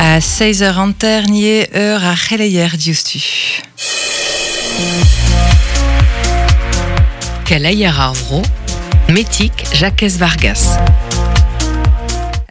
A 6 eur hanter nie eur ar c'heleier diouzhtu. Keleier ar vro, Metig Jakez Vargas.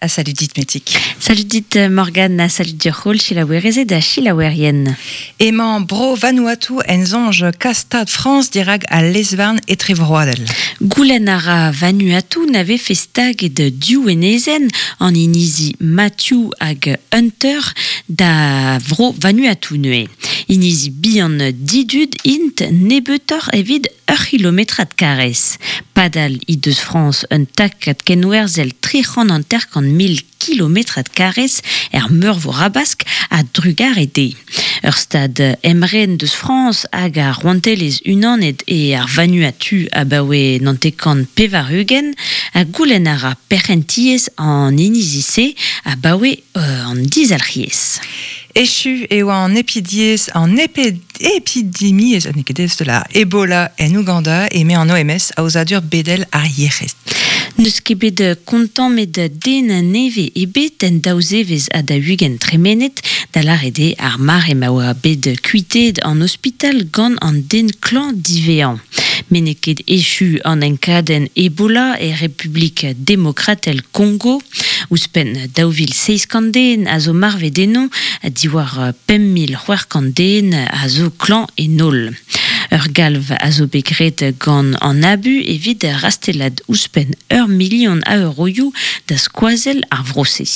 Ah, salut dit Metig. Salut dit Morgane, salut dioc'h selaouerezed ha selaouerien. Emañ Bro Vanuatu en soñj kas Stad Frañs dirak al lez-varn etrevroadel. Goulenn a ra Vanuatu na vefe staget div enezenn, an inizi Matthew hag Hunter, da vro Vanuatu neuze. Inizi bihan didud int nebeutoc'h evit ur c'hilometrad karrez. Padal he deus Frañs un takad kenwerzhel 350 000 kilometrad karrez er Meurvor Habask a-drugarez dezhe. Ur stad emren deus Frañs hag ar Rouantelezh Unanet eo ar Vanuatu abaoe 99, ha goulenn a ra perc'hentiezh an inizi-se abaoe an dizalc'hiezh. Echu eo an epidiezh an epidemiezh n'eo ket aes da Ebola en Ouganda eme an OMS, aozadur bedel ar yec'hed. N'eus ket bet kontammet den nevez ebet en daou zevezh ha 40 tremenet, da lâret eo ar mare ma oa bet kuitaet an ospital gant an den klañv diwezhañ. Met n'eo ket echu an enkadenn Ebola e Republik Demokratel Kongo. Ouzhpenn 2700 den a zo marvet eno, diwar 5600 den a zo klañv en holl. Ur galv a zo bet graet gant an ABU evit rastellat ouzhpenn ur milion a euroioù da skoazell ar vro-se.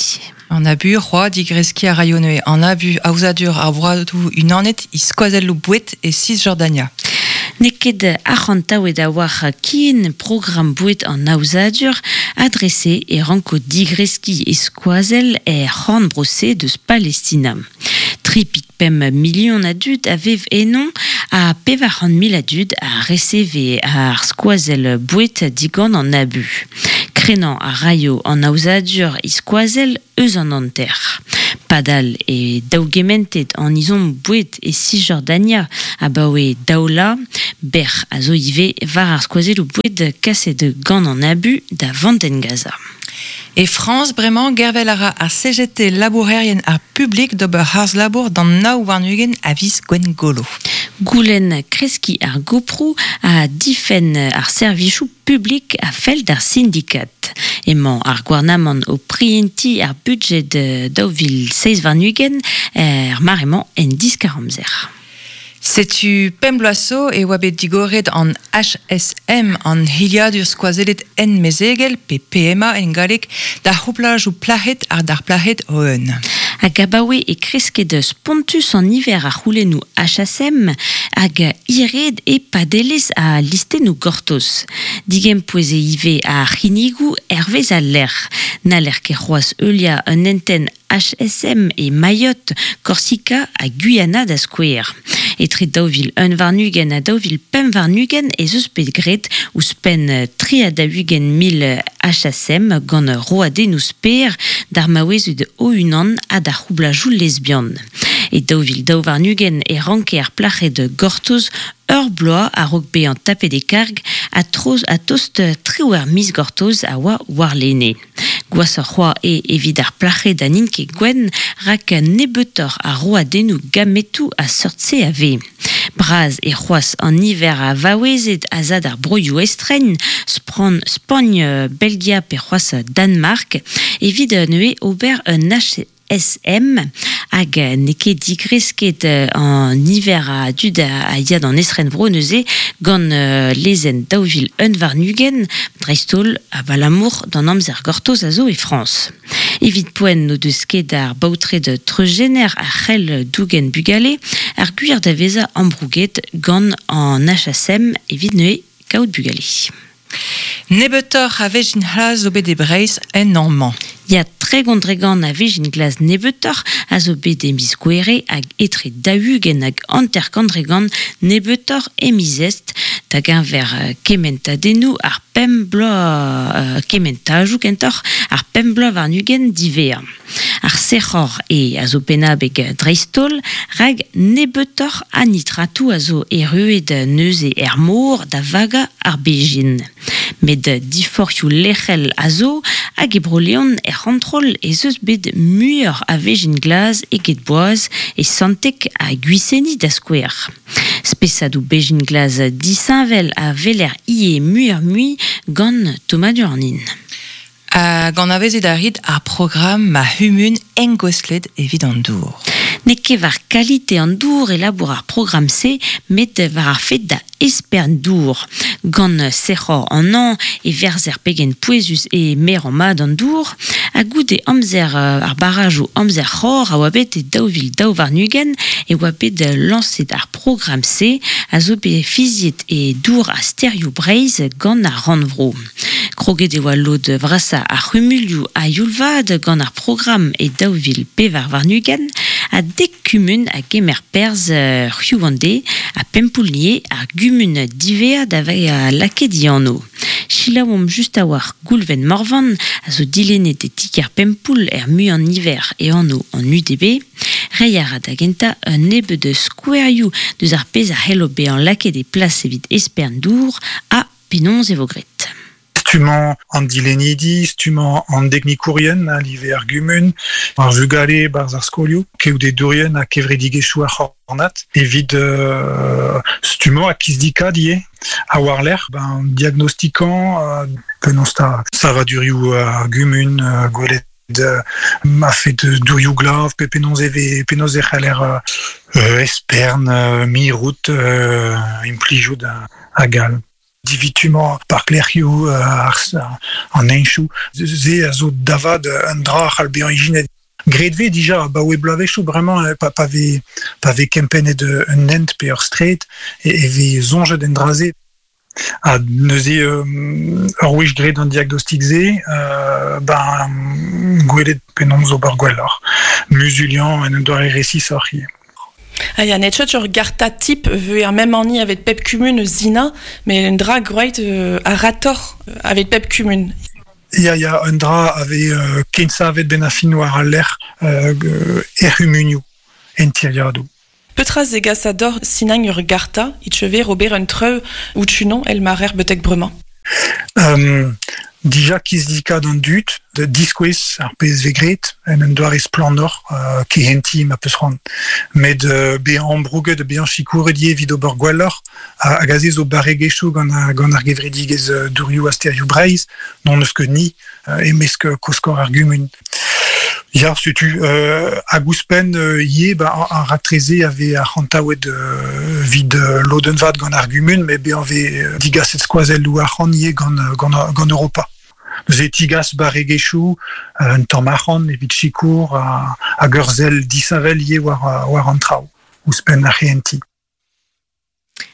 An ABU, c'hoazh digreskiñ a raio neuze an ABU aozadur ar broadoù unanet e skoazelloù boued e Cisjordania. N'eo ket arc'hantaouet a-walc'h ken programm boued an aozadur, ha dre-se e ranko digreskiñ e skoazell er c'horn-bro-se deus Palestina. Tri pik pemp milion a dud a vev eno ha 400 000 a dud a reseve ar skoazell boued digant an ABU. Krennañ a raio an aozadur e skoazell eus an hanter. Padal e daougementet an ezhomm boued e Cisjordania abaoe daou vloaz, bec'h a zo ivez war ar skoazelloù boued kaset gant an ABU da Vandenn Gaza. E Frañs bremañ gervel a ra ar CGT labourerien ar publik d'ober harz-labour d'an 29 a viz Gwengolo. Goulenn kreskiñ ar goproù ha difenn ar servijoù publik a fell d'ar sindikad. Emañ ar gouarnamant o prientiñ ar budjed 2027 er mare-mañ en diskar-amzer. Setu pemp bloaz zo e oa bet digoret an HSM, an hiliadur skoazellet ent-mezegel, pe PMA en galleg, d'ar c'houplajoù plac'hed ha d'ar plac'hed o-un. Hag abaoe e kresket spontus an niver a c'houlennoù HSM hag hiraet e padelezh al listennoù gortoz. Digempouez eo ivez ar c'hinnigoù hervez al lec'h. N'haller ket c'hoazh heuliañ un hentenn HSM e Mayotte, Korsika ha Guyana da skouer. Etre 2021 ha 2025 ez eus bet graet ouzhpenn 43 000 HSM gant roadennoù sper d'ar maouezed o-unan ha d'ar c'houblajoù lesbian. E 2022 e ranke ar plac'hed gortoz ur bloaz a-raok bezañ tapet e karg ha troz ha tost triwec'h miz gortoz a oa warlene. Gwashoc'h c'hoazh eo evit ar plac'hed ha n'int ket gwenn rak nebeutoc'h a roadennoù gametoù a seurt-se a vez. Bras eo c'hoazh an niver a vaouezed a za d'ar broioù estren, Spran, Spagn, Belgia pe c'hoazh Danmark, evit neuze ober un HSM hag n'eo ket digresket an niver a dud a ya d'an estrenvro neuze gant lezenn 2021, dreist-holl abalamour d'an amzer gortoz a zo e Frañs. Evit poent n'o deus ket ar baotred treuzjener a c'hell dougen bugale ar gwir da vezañ ambrouget gant an HSM evit neuze kaout bugale. Nebeutoc'h a vezhin c'hlas zo bet e Breizh en hañv-mañ. Ya, 30% a vezhin glas nebeutoc'h a zo bet e miz Gouere hag etre 40 hag 50% nebeutoc'h e miz Est, da geñver kementadennoù ar pemp bloaz kementajoù kentoc'h ar pemp bloaz warn-ugent diwezhañ. Ar sec'hor eo a zo pennabeg dreist-holl, rak nebeutoc'h a nitratoù a zo erruet neuze er mor da vagañ ar bezhin. Met diforc'hioù lec'hel a zo, hag e Bro-Leon er c'hontrol ez eus bet muioc'h a vezhin glas eget boaz e Santeg ha Gwiseni da skouer. Spesadoù bezhin glas disheñvel a weler ivez muioc'h-mui gant tommadur an hin. Hag anavezet a rit ar programm Ma c'humun engouestlet evit an dour? N'eo ket war kalite an dour e labour ar programm-se, met war ar fed da espern dour. Gant sec'hor an hañv e verzer pegen pouezus eo merañ mat an dour. Ha goude amzer ar barrajoù amzer c'hor a oa bet e 2022 e oa bet lañset ar programm-se a zo bet fiziet e Dour ha Stêrioù Breizh gant ar Rannvro. Kroget e oa lod vrasañ ar c'humulioù a-youl-vat gant ar programm e 2024 ha dek kumun a gemer perzh hiziv an deiz ha Pempoull-Nier ar gumun diwezhañ da vezañ lakaet he anv. Selaouomp just a-walc'h Goulven Morvan a zo dilennet e ti-kêr Pempoull er muiañ-niver e anv an UDB. Reiñ a ra da gentañ un nebeud skouerioù deus ar pezh a c'hello bezañ lakaet e plas evit espern dour ha Penaos e vo graet? Stummañ an dilennidi, stummañ an deknikourien a live ar gumun, ar vugale 'barzh ar skolioù, keodedourien ha kevredigezhioù ar c'hornad evit stummañ ha kizdikaat ivez. Ha war-lerc'h, ben, diagnostikañ penaos 'ta savadurioù ar gumun, gwelet ma fet dourioù glav pe penaos e vez penaos e c'haller espern, mirout, implijout hag all. Divitumañ parklec'hioù an heñchoù, se a zo da vat un dra a c'hall bezañ ijinet. Graet vez dija abaoe bloavezhioù bremañ pa, pa vez pa vez kempennet un hent pe ur straed e vez soñjet en dra-se. Ha neuze ur wech graet an diagnostik-se, ben gwelet penaos ober gwelloc'h, muzuliañ en un doare resisoc'h ivez. Ah ya, n'eo ur garta tip veu ar mem anni avet pep kumun eus Sina, met un dra groeit a-ratoc'h avet pep kumun. Ya, ya, un dra a vez kensavet benn ar fin war al lec'h er c'humunioù, en tiriadoù. Petra zegasa deoc'h sinañ ur garta e teuver ober un treu out-unan èl ma rer betek bremañ? Dija kizidikat an dud da diskouez ar pezh vez graet en un doare splannoc'h kehentiñ ma peus c'hoant. Met bezañ ambrouget ha bezañ sikouret ivez evit ober gwelloc'h hag aze zo barregezhioù gant gant ar gevredigezh Dourioù ha Stêrioù Breizh n'hon eus ket ni e-mesk koskor ar gumun. Ya, setu hag ouzhpenn ivez ba ar raktres-se a vez arc'hantaouet evit lodenn vat gant ar gumun met bezañ vez digaset skoazelloù arc'hant ivez gant gant gant Europa. Neuze e tigas barregezhioù un tamm arc'hant evit sikour hag ur sell disheñvel ivez war war an traoù ouzhpenn ar c'hehentiñ.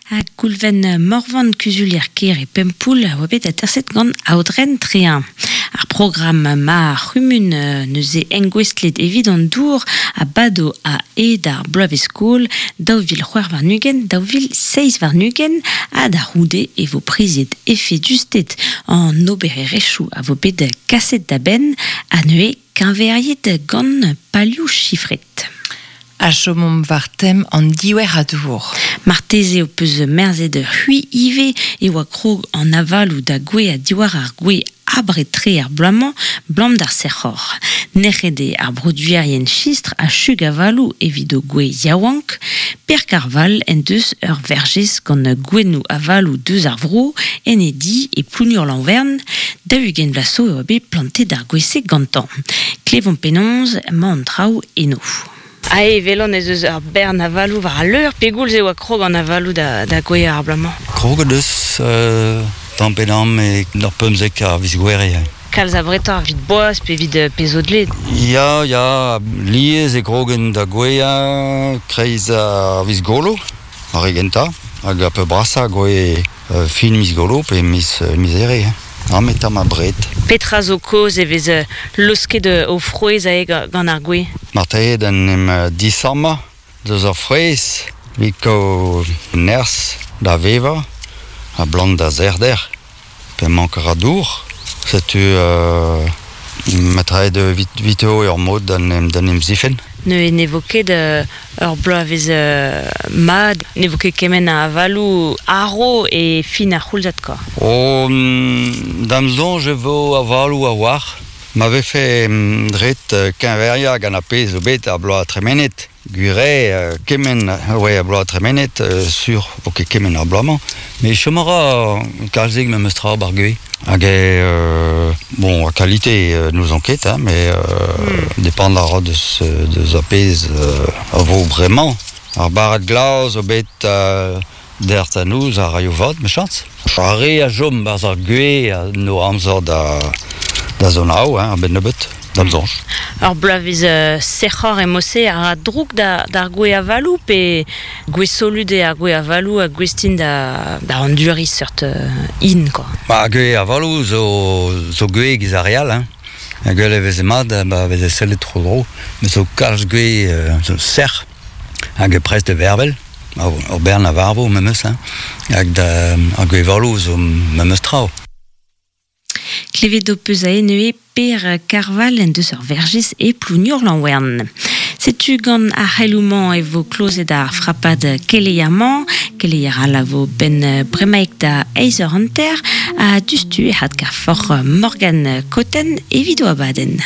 Ha Goulven Morvan, kuzulier-kêr e Pempoull, a oa bet aterset gant Aodren Trehin. Ar programm ma c'humun neuze engouestlet evit an dour a bado a-hed ar bloavezh-skol 2026 2027 ha da c'houde e vo priziet efedusted an obererezhioù a vo bet kaset da benn ha neuze keñveriet gant palioù chifret. Ha chomomp war tem an diouer a dour. Marteze ho peus merzet c'hwi ivez e oa krog an avaloù da gouezhañ diwar ar gwez abred-tre ar bloaz-mañ, 'blam d'ar sec'hor. Nec'het eo ar broduerien chistr ha chug avaloù evit o gwez yaouank. Per Karval en deus ur verjez gant gouennoù avaloù deus ar vro en e di e Plounur-Lanvern. 40 vloaz zo e oa bet plantet ar gwez-se gantañ. Klevomp penaos emañ an traoù eno. Ae evelon ez eus ur bern avaloù war al leur. Pegoulz e oa krog an avaloù da, da gouezhañ ar bloaz-mañ? Kroget eus tamm pe damm e ur 15 a viz Gouere. Kalz abretoc'h evit boaz pe evit pezh zo dleet? Ya, ya, lies e krogen da gouezhañ kreiz ar viz Golo, ar re gentañ, hag ar peurbrasañ gouez fin miz Golo pe miz, miz Here. Amañ tamm abred. Petra zo kaoz e vez laosket o frouezh aze gant ar gwez? Marteze d'en em disammañ deus ar frouezh evit kaout nerzh da vevañ ha blant da sec'hder pe mank a ra dour. Setu Matraet viteo ur mod d'an em zifen. Ne ne vo ket ur bloavezh mad, ne vo ket kement a avalou aro e fin ar c'houlzad kwa. O, da'm soñj e vo avalou a-walc'h. Ma vefe ret keñveriañ gant ar pezh zo bet ar bloaz tremenet. Gwir eo, kement oa ar bloaz tremenet, sur vo ket kement ar bloaz-mañ. Met chom a ra kalzik memes tra 'bar gwez. Hag eo, bon, a kalite n'ouzon ket, hein, met depend a ra deus, deus ar pezh a vo bremañ. Ar barrad glav zo bet dec'h da noz a raio vat, mechañs. Ar re a chom 'barzh ar gwez a no amzer da, da zonaou, hein, a-benn nebeut, da'm soñj. Ur bloavezh sec'hor emañ-se a ra droug d'ar gwez avaloù pe gwez solut eo ar gwez avaloù ha gouest int da, da anduriñ seurt hin, quoi. Ba, gwez avaloù zo, zo gwez giz ar re all, hein. Gwell e veze mat, ba veze sellet tro-dro, met zo kalz gwez zo sec'h hag prest da vervel. Ur bern a varvo memes, hein. Hag da, ar gwez avaloù zo memes tra. Klevet ho peus aze neuze Per Karval en deus ur verjez e Plougnour-Lanwern. Setu gant ar c'heloù-mañ e vo klozet ar frapad keleier-mañ. Keleier all a vo benn bremaik da eizh eur hanter ha diouzhtu e adkavoc'h Morgane Cotten evit o abadenn.